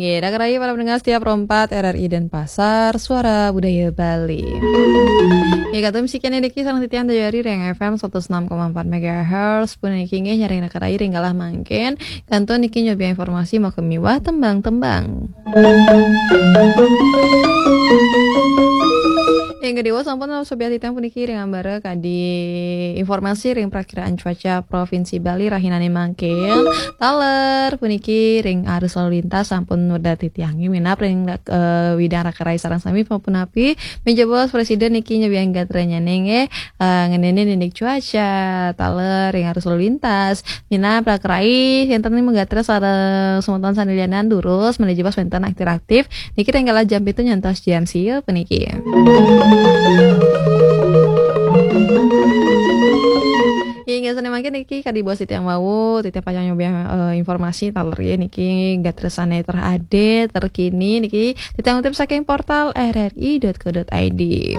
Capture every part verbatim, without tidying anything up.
Ya, dah keraya para pendengar setia Pro empat R R I Denpasar, Suara Budaya Bali. Ya, kata musik ini diki sareng titiang dari Ring F M seratus enam koma empat megahertz. Pun niki nggih nyarengin ring galah mangkin. Kantun niki nyobi informasi mau kemiwah tembang-tembang. Yang kedua sampun sobiah titiang puniki ring ambara kadi informasi ring prakiraan cuaca Provinsi Bali rahinane mangkin. Taler puniki ring arus lalu lintas sampun medal titiangi minab ring eh, widang raka rai sareng sami punapi. Menawi Presiden niki nyobiang gatranyane nggih eh, ngeninin indik cuaca taler ring arus lalu lintas. Minab raka rai wenten ring gatra sareng semeton sane lianan durus menawi wenten aktif-aktif niki ring galah jam pitu nyantos jam sia puniki. Inggih sane mangkin niki kadi bos titiang wau, titiang pacang nyobi eh, informasi taler ya niki gatra sane terupdate, terkini niki titiang kutip saking portal R R I dot co dot I D.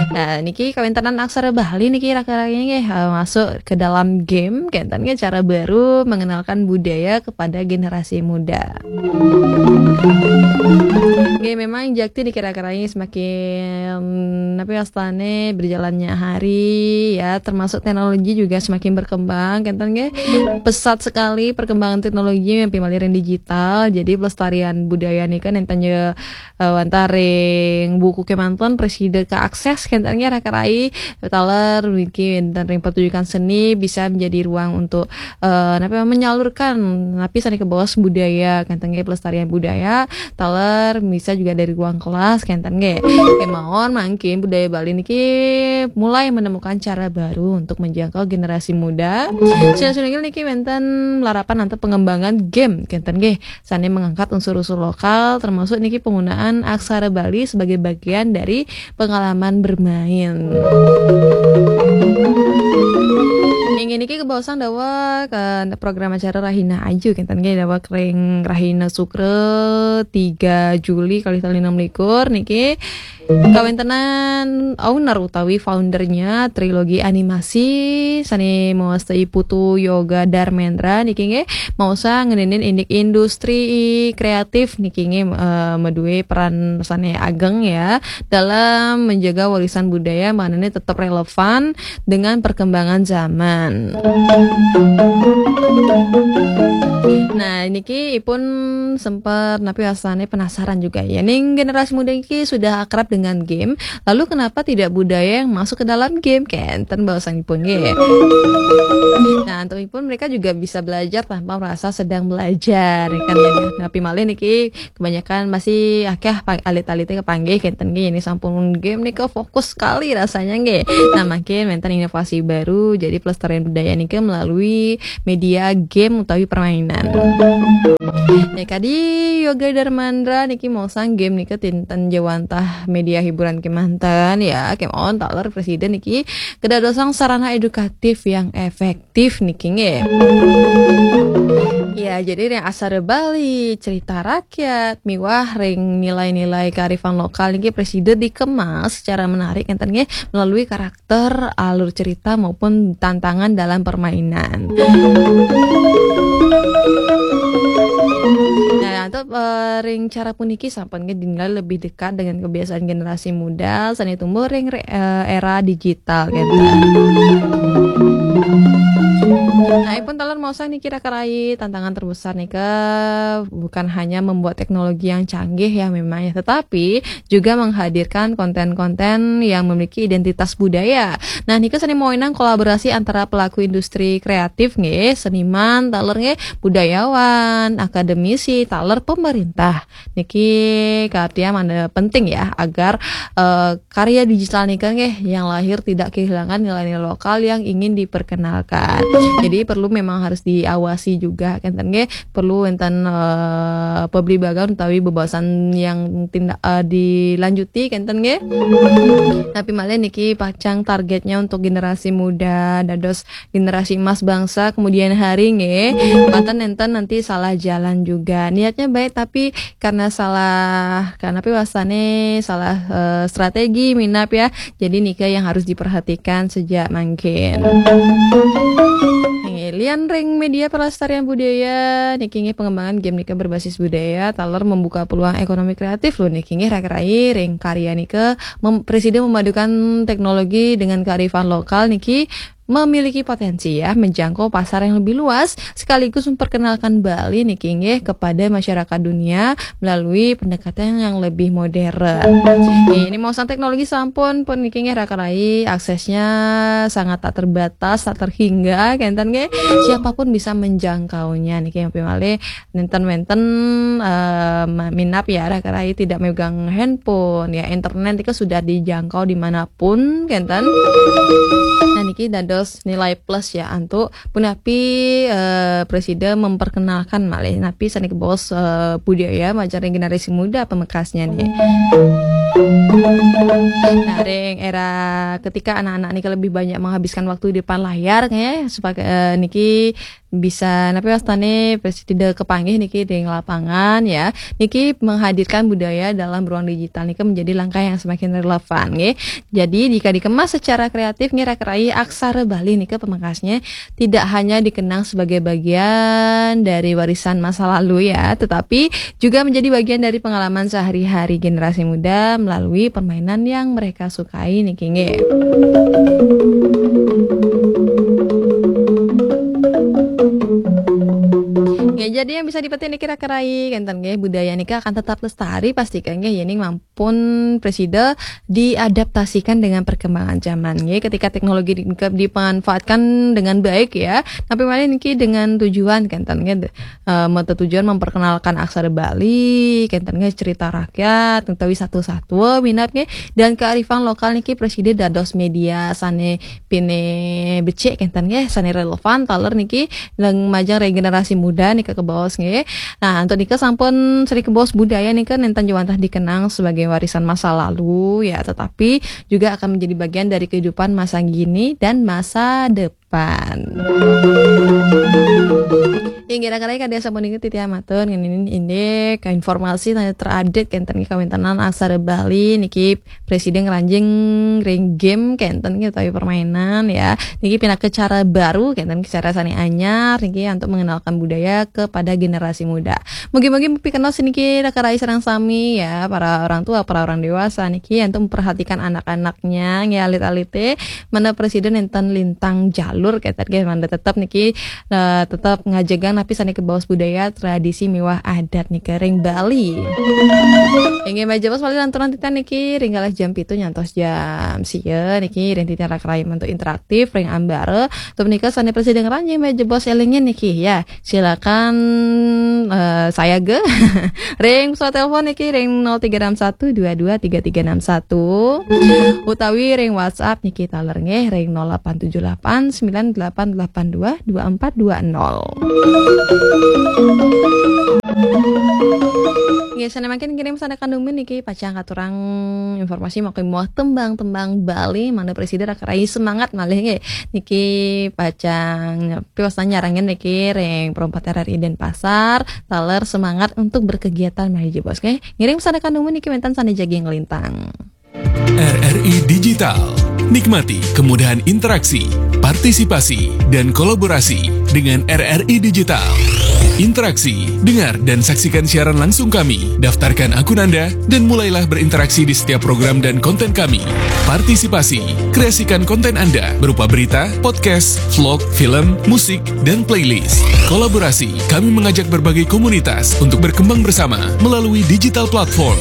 Nah, niki kawentenan aksara Bali niki raka-raka nggih eh, masuk ke dalam game, kenten nggih cara baru mengenalkan budaya kepada generasi muda. Nggih, memang jakti niki raka-raka nggih semakin apa ya, wastane berjalannya hari ya, termasuk teknologi juga semakin berkembang, kenten nggih. Pesat sekali perkembangan teknologi yang pimalirin digital. Jadi pelestarian budaya nika nenten ya eh, wantah ring buku kemanten presida keakses kenten nggih raka rai taler niki wenten ring pertunjukan seni bisa menjadi ruang untuk eh, apa menyalurkan napi sane kabaos budaya kenten nggih pelestarian budaya taler bisa juga dari ruang kelas kenten nggih. Kemawon mangkin budaya Bali niki mulai menemukan cara baru untuk menjangkau generasi muda. Sila niki wenten malarapan antuk pengembangan game kenten nggih. Sane mengangkat unsur-unsur lokal termasuk niki penggunaan aksara Bali sebagai bagian dari pengalaman bermain. Inggih niki kabaosan daweg program acara Rahina Aju kenten nggih daweg ring Rahina Sukra tiga Juli kalih tali enam likur niki kawentenan owner utawi foundernya trilogi animasi sane mawasta Putu Yoga Darmendra niki nggih maosa ngeninin indik industri kreatif niki nggih eh, medue peran sane ageng ya dalam menjaga warisan budaya manane tetap relevan dengan perkembangan zaman. Nah, niki ipun sempat napi wastane penasaran juga ya. Ning generasi muda niki sudah akrab dengan game, lalu kenapa tidak budaya yang masuk ke dalam game? Kenten baosanipun nggih. Nah, antuk ipun mereka juga bisa belajar tanpa merasa sedang belajar, ya kan ya. Napi malih niki kebanyakan masih akeh pa- alit-alite kepanggih kenten nggih ini sampun game nika fokus sekali rasanya nggih. Nah, mangkin wenten inovasi baru jadi pelestarian budaya nika melalui media game utawi permainan. Ya kadi Yoga Darmandra niki maosang game nika tinten jawantah media hiburan kemanten ya kemawon taler presiden niki kedadosang sarana edukatif yang efektif niki nggih. Ya, jadi ring aksara Bali, cerita rakyat, miwah ring nilai-nilai kearifan lokal niki presida dikemas secara menarik enten nggih melalui karakter, alur cerita maupun tantangan dalam permainan. Nah, antuk eh, ring cara puniki sampun nggih dinilai lebih dekat dengan kebiasaan generasi muda sane tumbuh ring re- eh, era digital gitu. Nah, ipun taler maosang niki raka rai tantangan terbesar nika bukan hanya membuat teknologi yang canggih ya memang ya, tetapi juga menghadirkan konten-konten yang memiliki identitas budaya. Nah, nika sane mawinan kolaborasi antara pelaku industri kreatif nggih, seniman, taler nggih, budayawan, akademisi, taler pemerintah. Niki kaartian mana penting ya agar eh, karya digital nika nggih yang lahir tidak kehilangan nilai-nilai lokal yang ingin diperkenalkan. Jadi perlu memang harus diawasi juga kenten nggih, perlu wenten eh, pabligbagan utawi bebaosan yang tindak eh, dilanjuti kenten nggih. Tapi malih niki pacang targetnya untuk generasi muda, dados generasi emas bangsa kemudian hari nggih. Mboten enten nanti salah jalan juga. Niatnya baik tapi karena salah, karena pi wastane salah eh, strategi minab ya. Jadi nika yang harus diperhatikan sejak mangkin. Nggih, Lian ring media pelestarian budaya niki nggih, pengembangan game nika berbasis budaya taler membuka peluang ekonomi kreatif lho niki nggih, raka rai. Ring karya nika mem- presiden memadukan teknologi dengan kearifan lokal niki memiliki potensi ya menjangkau pasar yang lebih luas sekaligus memperkenalkan Bali niki nggih kepada masyarakat dunia melalui pendekatan yang lebih modern. Ini mau sang teknologi sampun pun niki nggih, raka rai, aksesnya sangat tak terbatas, tak terhingga kenten nggih. Siapapun bisa menjangkaunya niki, yang pimale nenten wenten eh, ma- minap ya, raka rai, tidak megang handphone ya, internet itu sudah dijangkau dimanapun kenten. Nah niki dados nilai plus ya untuk punapi eh, presiden memperkenalkan malih napi sane kebos eh, budaya majaring generasi muda pamekasnya nih. Nah, ring era ketika anak-anak niki lebih banyak menghabiskan waktu di depan layar nggih, sebagai eh, niki bisa napi wastane presiden kepanggih niki ring lapangan ya. Niki menghadirkan budaya dalam ruang digital niki menjadi langkah yang semakin relevan nggih. Jadi jika dikemas secara kreatif nggih, raka rai, aksara Bali niki pamekasnya tidak hanya dikenang sebagai bagian dari warisan masa lalu ya, tetapi juga menjadi bagian dari pengalaman sehari-hari generasi muda melalui permainan yang mereka sukai niki nggih. Ya, jadi yang bisa dipetik niki, raka rai, kenten nggih, budaya niki akan tetap lestari pasti kan nggih, yening mampu pun presiden diadaptasikan dengan perkembangan zaman nggih. Ketika teknologi di- dimanfaatkan dengan baik ya, tapi malih niki dengan tujuan kenten nggih, eh, mata tujuan memperkenalkan aksara Bali kenten nggih, cerita rakyat utawi satu-satu minap nggih, dan kearifan lokal niki presiden dados media sane pine becik kenten nggih, sane relevan taler niki leng majeng regenerasi muda nika kebaos nggih. Nah, untuk nika sampun sri kebaos budaya nika nenten jawantah dikenang sebagai warisan masa lalu ya, tetapi juga akan menjadi bagian dari kehidupan masa kini dan masa depan. Inggih, raka rai, kadi sampun inggih titiang matur ngenin indik informasi sane terupdate kenten nggih kawentenan aksara Bali niki presiden ngranjing ring game kenten nggih utawi permainan ya. Niki pinaka cara baru kenten, cara sane anyar niki untuk mengenalkan budaya kepada generasi muda. Mugi-mugi pikenoh niki raka rai sareng sami ya, para orang tua, para orang dewasa niki untuk memperhatikan anak-anaknya nggih, alit-alite, mana presiden enten lintang jalur kenten nggih, mangda tetep niki eh, tetep ngajegang napi sane kebaos budaya, tradisi miwah adat nika ring Bali. Inggih, malih jebos malih lanturan titiang niki ring galah jam pitu nyantos jam sia niki ring titiang raka rai untuk interaktif ring ambara. Untuk menika sane presiden ngranjing malih jebos elingin niki ya. Silakan eh, sayaga ring pesawat telepon niki ring nol tiga enam satu dua dua tiga tiga enam satu utawi ring WhatsApp niki taler nggih ring nol delapan tujuh delapan sembilan delapan delapan dua dua empat dua nol. Nggih, sane mangkin ngiring sane kandumin niki pacang katurang informasi mawi muah tembang-tembang Bali, mangda presiden raka rai semangat malih nggih. Niki pacang piwastan nyarengin niki ring perempat R R I Denpasar, taler semangat untuk berkegiatan malih jebos nggih. Ngiring sane kandumin niki wenten sane jagi nglintang. R R I Digital. Nikmati kemudahan interaksi, partisipasi, dan kolaborasi dengan R R I Digital. Interaksi, dengar dan saksikan siaran langsung kami. Daftarkan akun Anda dan mulailah berinteraksi di setiap program dan konten kami. Partisipasi, kreasikan konten Anda berupa berita, podcast, vlog, film, musik, dan playlist. Kolaborasi, kami mengajak berbagai komunitas untuk berkembang bersama melalui digital platform.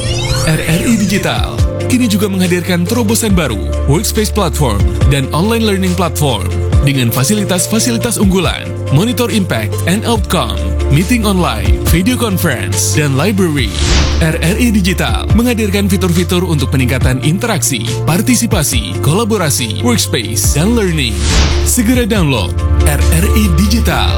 R R I Digital kini juga menghadirkan terobosan baru, Workspace Platform dan Online Learning Platform, dengan fasilitas-fasilitas unggulan, Monitor Impact and Outcome, Meeting Online, Video Conference, dan Library. R R I Digital menghadirkan fitur-fitur untuk peningkatan interaksi, partisipasi, kolaborasi, workspace, dan learning. Segera download R R I Digital.